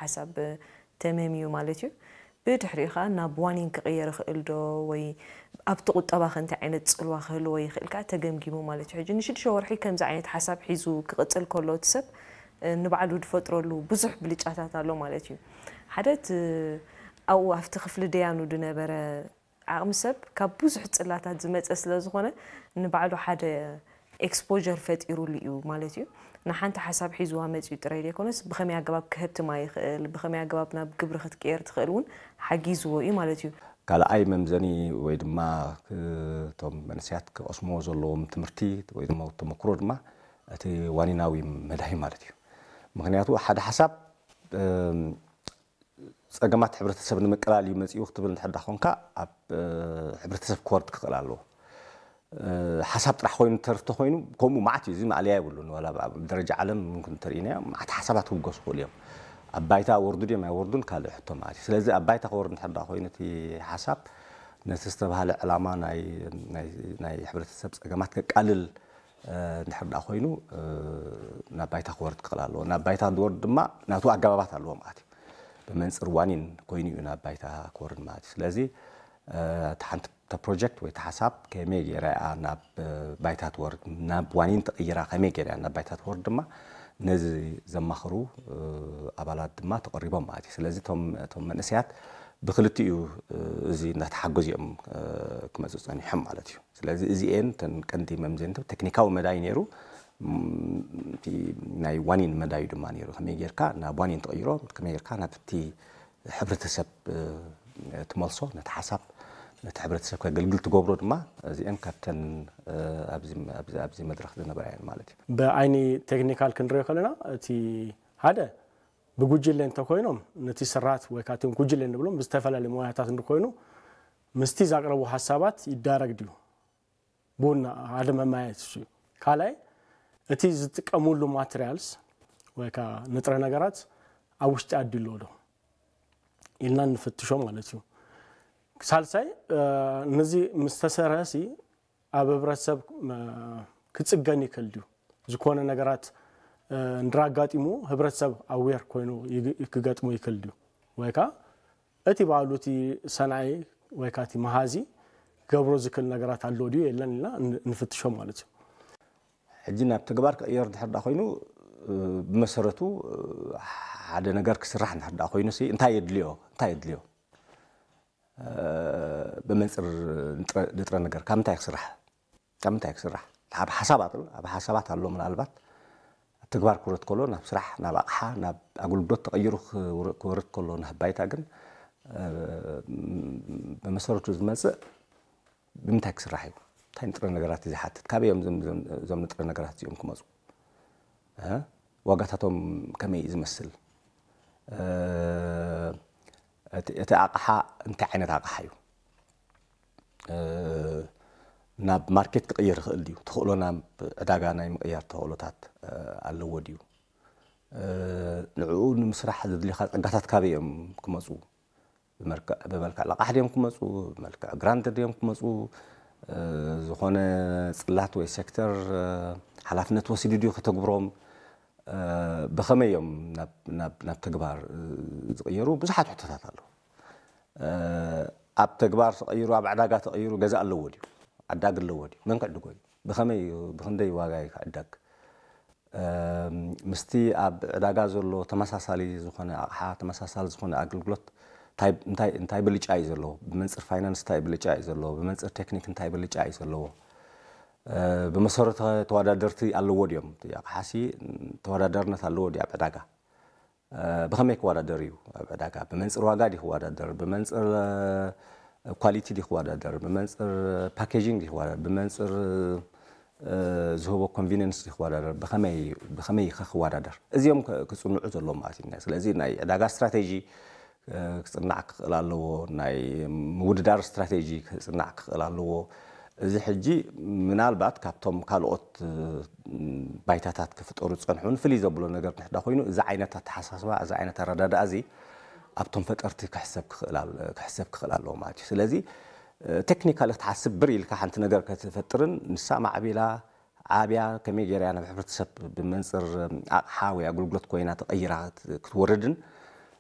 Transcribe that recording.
ሓሳብ ተመምዩ ማለት እዩ። ብድሕሪኡ ከዓ ናብ ዋኒን ክቕየር ይኽእል ዶ ወይ ኣብቲ ቁጠባ ከ እንታይ ዓይነት ፅልዋ ክህልዎ ይኽእል ከዓ ተገምጊሙ ማለት እዩ። ሕጂ ንሽዱሽተ ወርሒ ከምዚ ዓይነት ሓሳብ ሒዙ ክቕፅል ከሎ እቲ ሰብ ንባዕሉ ዝፈጥረሉ ብዙሕ ብልጫታት ኣሎ ማለት እዩ። ሓደ እቲ ኣብኡ ኣብቲ ክፍሊ ደያኑ ዝነበረ ዓቕሚ ሰብ ካብ ብዙሕ ፅላታት ዝመፀ ስለ ዝኾነ ንባዕሉ ሓደ exposure ፈጢሩሉ እዩ ማለት እዩ። ንሓንቲ ሓሳብ ሒዝዋ መፂኡ ጥራይ ዘይኮነስ ብኸመይ ኣገባብ ክህብትማ ይኽእል፣ ብኸመይ ኣገባብ ናብ ግብሪ ክትቅየር ትኽእል እውን ሓጊዝዎ እዩ ማለት እዩ። ካልኣይ መምዘኒ ወይ ድማ እቶም መንእሰያት ክቐስምዎ ዘለዎም ትምህርቲ ወይ ድማ ተመክሮ ድማ እቲ ዋኒናዊ መዳይ ማለት እዩ። ምክንያቱ ሓደ ሓሳብ ጸገማት ሕብረተሰብ ንምቅላል እዩ መጺኡ ክትብል እንድሕር ዳ ኮንካ ኣብ ሕብረተሰብ ክወርድ ክኽእል ኣለዎ። ሓሳብ ጥራሕ ኮይኑ ተርፍተ ኮይኑ ከምኡ ማዓት እዩ። እዚ ማእለያ የብሉን። ዋላ ኣብ ደረጃ ዓለም ምምክን እንተርኢናዮ ማዓት ሓሳባት ክውገሱ ክኽእሉ እዮም። ኣብ ባይታ ወርዱ ድዮም ኣይወርዱን ካልእ ሕቶ ማለት እዩ። ስለዚ ኣብ ባይታ ክወርድ እንድሕር ዳ ኮይኑ እቲ ሓሳብ ነቲ ዝተባህለ ዕላማ ናይ ናይ ናይ ሕብረተሰብ ጸገማት ከቃልል እንድሕር ዳ ኮይኑ ናብ ባይታ ክወርድ ክኽእል ኣለዎ። ናብ ባይታ ዝወርድ ድማ ናቱ ኣገባባት ኣለዎ ማለት እዩ። ብመንፅር ዋኒን ኮይኑ እዩ ናብ ባይታ ክወርድ ማለት እዩ። ስለዚ እቲ ሓንቲ ፕሮጀክት ወይ ሓሳብ ከመይ ገይራ እያ ናብ ባይታ ትወርድ፣ ናብ ዋኒን ተቐይራ ከመይ ገይራ እያ ናብ ባይታ ትወርድ ድማ ነዚ ዘማኽሩ ኣባላት ድማ ተቐሪቦም ማለት እዩ። ስለዚ እቶም መንእሰያት ብክልቲኡ እዚ እናተሓገዙ እዮም ክመፁ ፀኒሖም ማለት እዩ። ስለዚ እዚኤን ተን ቀንዲ መምዘንቶ ቴክኒካዊ መዳይ ነይሩ። ናይ ዋኒን መዳዩ ድማ ነይሩ። ከመይ ጌርካ ናብ ዋኒን ትቕይሮ፣ ከመይ ጌርካ ናብቲ ሕብረተሰብ ትመልሶ፣ ነቲ ሓሳብ ነቲ ሕብረተሰብ ከገልግል ትገብሮ ድማ እዚአን ካብተን ኣብዚ መድረክ ዝነበራ እየን ማለት እዩ። ብዓይኒ ቴክኒካል ክንሪኦ ከለና እቲ ሓደ ብጉጅለ እንተኮይኖም ነቲ ስርዓት ወይ ከዓ እቶም ጉጅለ ንብሎም ብዝተፈላለዩ ሞያታት እንተኮይኑ ምስቲ ዘቅረቡ ሓሳባት ይዳረግ ድዩ? ቡና ሓደ መማየት እሱ እዩ። ካልኣይ እቲ ዝጥቀሙሉ ማቴሪያልስ ወይ ከዓ ንጥረ ነገራት ኣብ ውሽጢ ዓዲ ኣሎ ዶ ኢልና እንፍትሾ ማለት እዩ። ሳልሳይ ነዚ ምስ ተሰርሐ ሲ ኣብ ህብረተሰብ ክፅገን ይክእል ድዩ? ዝኾነ ነገራት እንድራጋጢሙ ህብረተሰብ ኣዌር ኮይኑ ክገጥሞ ይክእል ድዩ? ወይ ከዓ እቲ ባዕሉ እቲ ሰንዓይ ወይ ከዓ እቲ መሃዚ ክገብሮ ዝክእል ነገራት ኣሎ ድዩ የለን ኢልና ንፍትሾ ማለት እዩ። ሕጂ ናብ ተግባር ክቕየር ድሕር ዳ ኮይኑ ብመሰረቱ ሓደ ነገር ክስራሕ እንድሕር ዳ ኮይኑ ሲ እንታይ የድልዮ እንታይ የድልዮ ብመንፅር ንጥረ ነገር ካብ ምንታይ ክስራሕ ካብ ምንታይ ክስራሕ ኣብ ሓሳባት ኣብ ሓሳባት ኣሎ ምናልባት ኣብ ተግባር ክወርድ ከሎ ናብ ስራሕ ናብ ኣቕሓ ናብ ኣገልግሎት ተቐይሩ ክወርድ ከሎ ናብ ባይታ ግን ብመሰረቱ ዝመፅእ ብምንታይ ክስራሕ እዩ እንታይ ንጥረ ነገራት እዩ ዝሓትት ካበይ እዮም እዞም ንጥረ ነገራት እዚኦም ክመፁ ዋጋታቶም ከመይ እዩ ዝመስል እቲ ኣቕሓ እንታይ ዓይነት ኣቕሓ እዩ ናብ ማርኬት ክቕየር ይኽእል ድዩ? ተኽእሎ ናብ ዕዳጋ ናይ ምቕያር ተኽእሎታት ኣለዎ ድዩ? ንዕኡ ንምስራሕ ዘድልኻ ጸጋታት ካበይ እዮም ክመጹ? ብመልክዕ ልቓሕ ድዮም ክመጹ? ብመልክዕ ግራንት ድዮም ክመጹ? ዝኾነ ጽላት ወይ ሴክተር ሓላፍነት ወሲዱ ድዩ ከተግብሮም? ብኸመይ እዮም ናብ ተግባር ዝቕየሩ? ብዙሓት ሕቶታት ኣለዉ። ኣብ ተግባር ተቐይሩ ኣብ ዕዳጋ ተቐይሩ ገዛ ኣለዎ ድዩ? ዓዳጊ ኣለዎ ድዩ? መን ክዕድጎ እዩ? ብኸመይ እዩ? ብኽንደይ ዋጋ እዩ ክዕደግ? ምስቲ ኣብ ዕዳጋ ዘሎ ተመሳሳሊ ዝኾነ ኣቕሓ ተመሳሳሊ ዝኾነ ኣገልግሎት እንታይ ብልጫ እዩ ዘለዎ? ብመንፅር ፋይናንስ እንታይ ብልጫ እዩ ዘለዎ? ብመንፅር ቴክኒክ እንታይ ብልጫ እዩ ዘለዎ? ብመሰረቱ ተወዳደርቲ ኣለዎ ድዮም? ኣቕሓሲ ተወዳዳርነት ኣለዎ ድዩ ኣብ ዕዳጋ? ብኸመይ ክወዳደር እዩ ኣብ ዕዳጋ? ብመንፅር ዋጋ ድዩ ክወዳደር? ብመንፅር ኳሊቲ ድዩ ክወዳደር? ብመንፅር ፓኬጂንግ ድዩ ክወዳደር? ብመንፅር ዝህቦ ኮንቪኒንስ ድዩ ክወዳደር? ብኸመይ ብኸመይ ኢኸ ክወዳደር? እዚኦም ክፅንዑ ዘለዎም ማለት እዩ። ስለዚ ናይ ዕዳጋ ስትራቴጂ ክፅናዕ ክኽእል ኣለዎ። ናይ ምውድዳር ስትራቴጂ ክፅናዕ ክኽእል ኣለዎ። እዚ ሕጂ ምናልባት ካብቶም ካልኦት ባይታታት ክፍጠሩ ዝፀንሑ እውን ፍልይ ዘብሎ ነገር ንሕዳ ኮይኑ እዚ ዓይነት ኣተሓሳስባ እዚ ዓይነት ኣረዳድኣ እዚ ኣብቶም ፈጠርቲ ክሕሰብ ክኽእል ኣለዎ ማለት እዩ። ስለዚ ቴክኒካሊ ክትሓስብ ብር ኢልካ ሓንቲ ነገር ከትፈጥርን ንሳ ማዕቢላ ዓብያ ከመይ ገይራ ናብ ሕብረተሰብ ብመንፅር ኣቕሓ ወይ ኣገልግሎት ኮይና ተቐይራ ክትወርድን